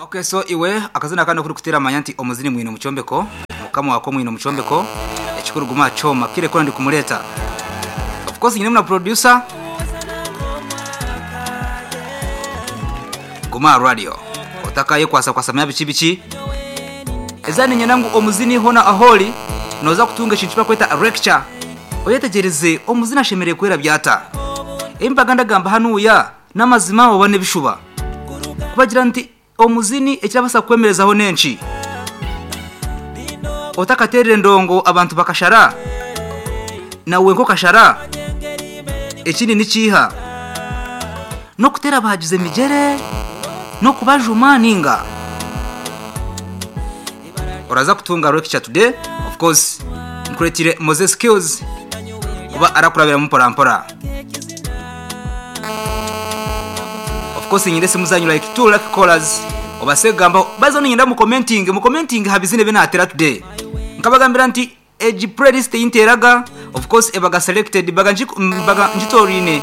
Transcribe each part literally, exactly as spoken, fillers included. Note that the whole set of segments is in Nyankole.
Okay, so iwe akazina kandi kuri kutera amanya nti omuzini mwine mucombeko mukama wako mwine mucombeko ekikuru guma choma kire kora ndi kumuleta. Of course nyine mna producer Guma Radio otakaye kwasa kwasamya bichi bichi ezani nyenangu omuzini hona aholi noza kutunga ekintu bakweta lecture oyetegereze omuzini ashemereye kwera byata embaga ndagamba hanuya n'amazima obone bishuba kubagira nti omuzini ekirabasa kwemerezaho nenki otakaterere ndongo abantu bakashara nawe nko kashara ekindi nikiha no kutera bahagize migere no kubajuma ninga oraza kutunga lecture today. Of course nkuretire Moses Skills kuba arakurabira mpora mpora. Of course nyinde simuzanyu like two like callers obasegamba bazo nyinda mu commenting mu commenting habizine benatera today nkabagambira nti egi playlist interaga. Of course ebaga selected baga baga njitorine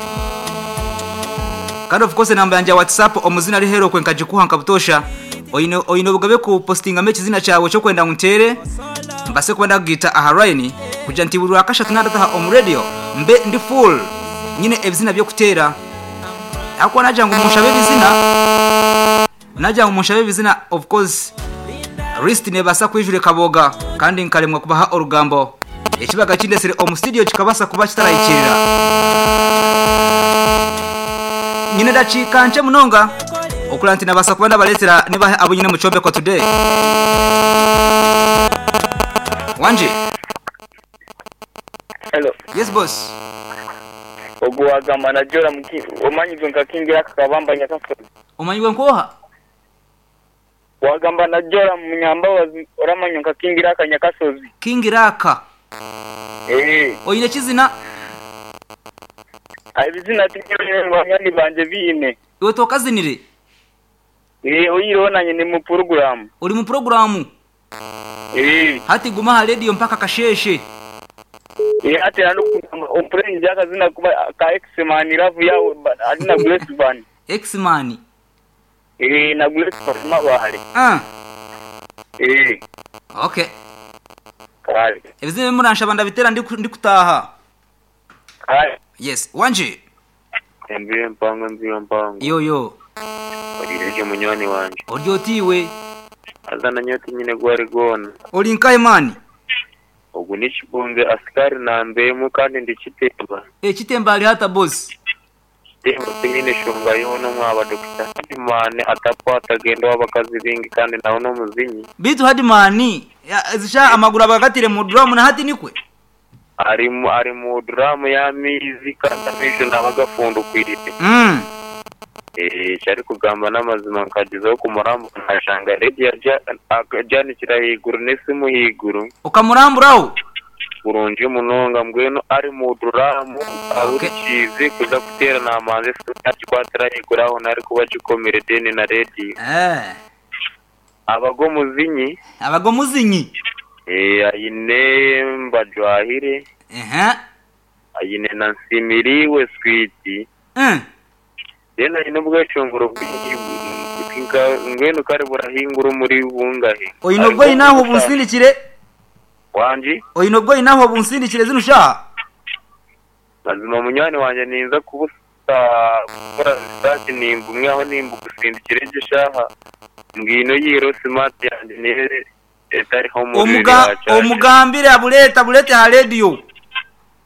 kandi of course namba yanje ya WhatsApp omuzina ari hero kwe nkajikuha nkabutosha oyino oyino bugabe ku postinga mechi zina cyawe cyo kwenda ntere mbase kwenda gita aharaini kuja nti buri akasha tunadata om radio mbe ndi full nyine ebizina byo kutera akwa naja ngo mushabe bizina naja ngo mushabe bizina. Of course list nebasa kwijure kaboga kandi nkalemwa kubaha orugambo ekibaga kindesere omu studio kikabasa kuba kitarayikirira nyine ndacikanje munonga okulanti nabasa kuba ndabaletera niba abo nyine mucombeko today. Wanje. Hello. Yes boss. Ogwagamba najora muki omanyi nkakingira akabamba nyakasozi. Omanyi nkoha? Wagamba najora munyambabazi oramanyi nkakingira akanyakasozi. Kingiraka. Eh. Oyine kizina? Ibizina tinyone banyani banje bine. Iwe tokazinire? Eh, oyirona nyine mu program. Uri mu program? Eh. Hati guma ha radio mpaka kasheshe. Eh, ati nando ompreni jakazina kuba ka X-Man love yawe alina Grace Van. X-Man. Eh, na Grace Van mabale. Ah. Eh. Okay. Kale. Ebizime muransha banda bitera ndi ndi kutaha. Kale. Yes, wanje. Mbiwe mpango mbiwe mpango. Yo yo. Odirije munywani wanje. Oryotiwe. Azana nyoti nyine gwari gona. Ori nkaye mani. Ogu nichibunze askari na mbemu kandi ndichitemba. Eh, chitemba ali hata boss. Chitemba nyine shonga yono mwaba Doctor Hadimani atapwa atagenda wabakazi bingi kandi nawo no muzinyi. Bitu Hadimani zisha amaguru abakatire mu drum na hati nikwe. Ari mu ari mu drum ya mizi kandi amisho nabagafundo kwirite. Mm. Eh, cyari kugamba n'amazima nkagezaho kumurambo nkashanga radio janikira higuru n'esimu higuru ukamuramburaho burungi munonga mbwenu ari mu duramu ahurikize kuza kutera namanze akikwatira higuru aho nari kuba gikomere deni na radio. Eh, abago muzinyi abago muzinyi eh ayine mbajwahire eh ayine na nsimiriwe sweet eh Dena ino bwacunguro bwinka ngweno kare burahingura muri bungahe. Oyino bwo inaho bunsindikire wanji. Oyino bwo inaho bunsindikire zino sha. Mazima munywani wanje ninza kubusa gukora research nimba umwe aho nimba gusindikire je shaha. Ngino yiro smart yanje nere etari ho muri. Omuga omugambire abuleta bulete ha radio.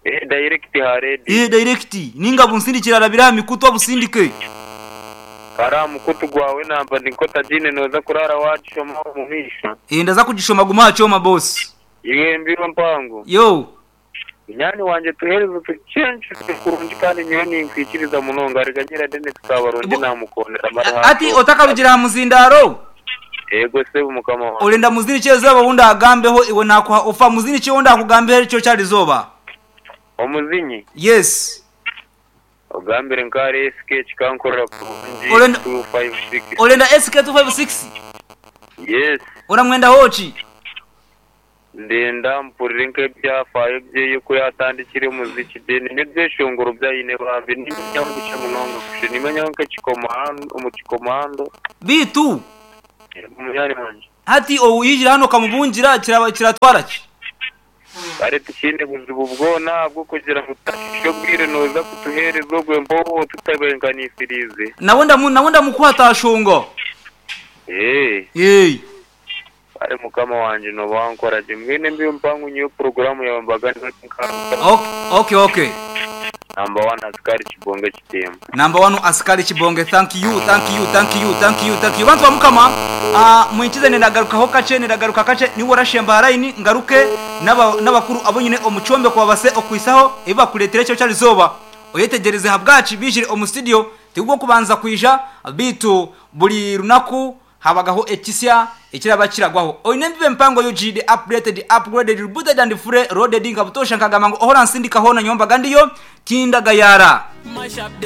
Eh, direct ha radio. Eh, direct ninga bunsindikira arabira mikuto busindike. Kara mukutu gwawe namba ndinkota jine noza kurara wachoma mumisha. Eh, ndaza kugishoma guma choma boss. Iwe mbiro mpango. Yo. Nyani wanje tuhereze tuchenje kurungi kandi nyoni nkwikiriza munonga ariganyira dene tukabarundi namukondera mara. Ati otakarugira muzindaro. Ego se mukama wa. Olenda muzini chezo bawunda agambeho iwe nakuha ofa muzini chonda akugambeho cyo cyarizoba. Omuzinyi. Yes. Ogambire nkare S K chikankorera kurungi two five six. Olenda S K two five six. Yes. Ora mwenda hochi. Ndenda mpurire nk'ebyafaayo byeye ko yatandikire omuziki then n'ebyeshongoro byayine bambi nimanyaho bikye munonga kusha nimanyaho nk'ekikomando omu kikomando Bitu munywani wanje. Hati owuyijira hano kamubungira kiraba kiratwara ki? Kare tikine buzibu bwona bwo kugira ngu tutashishe obwire noza kutuheereza ogwe mpoho tutabenganisirize. Nawe ndamu nawe ndamukwata ashongo. Eh, Yey. kare mukama wanje noba wankora gye mwene mbiyo mpangu niyo porogaramu yawe mbaga nka Okay okay okay. Number one askari Kibonge kitemba. Number one askari Kibonge, thank you, thank you, thank you, thank you, thank you. Bantu bamukama uh, mwinkize nendagarukaho kace nendagaruka kace niwe warashemba haraini ngaruke n'aba- n'abakuru abo nyine omucombe kwabase okwisaho ebibakuletera ekyo kyarizoba oyetegereze habwaci bijire omu studio tigwo kubanza kwija bitu buli runaku habagaho ekisya ekiraba kiragwaho oine mbibe mpango U G the updated, upgraded, rebooted and fully loaded. Nkabutosha nkagamba ngu ohora nsindikaho na nyomba gandiyo tindagayara.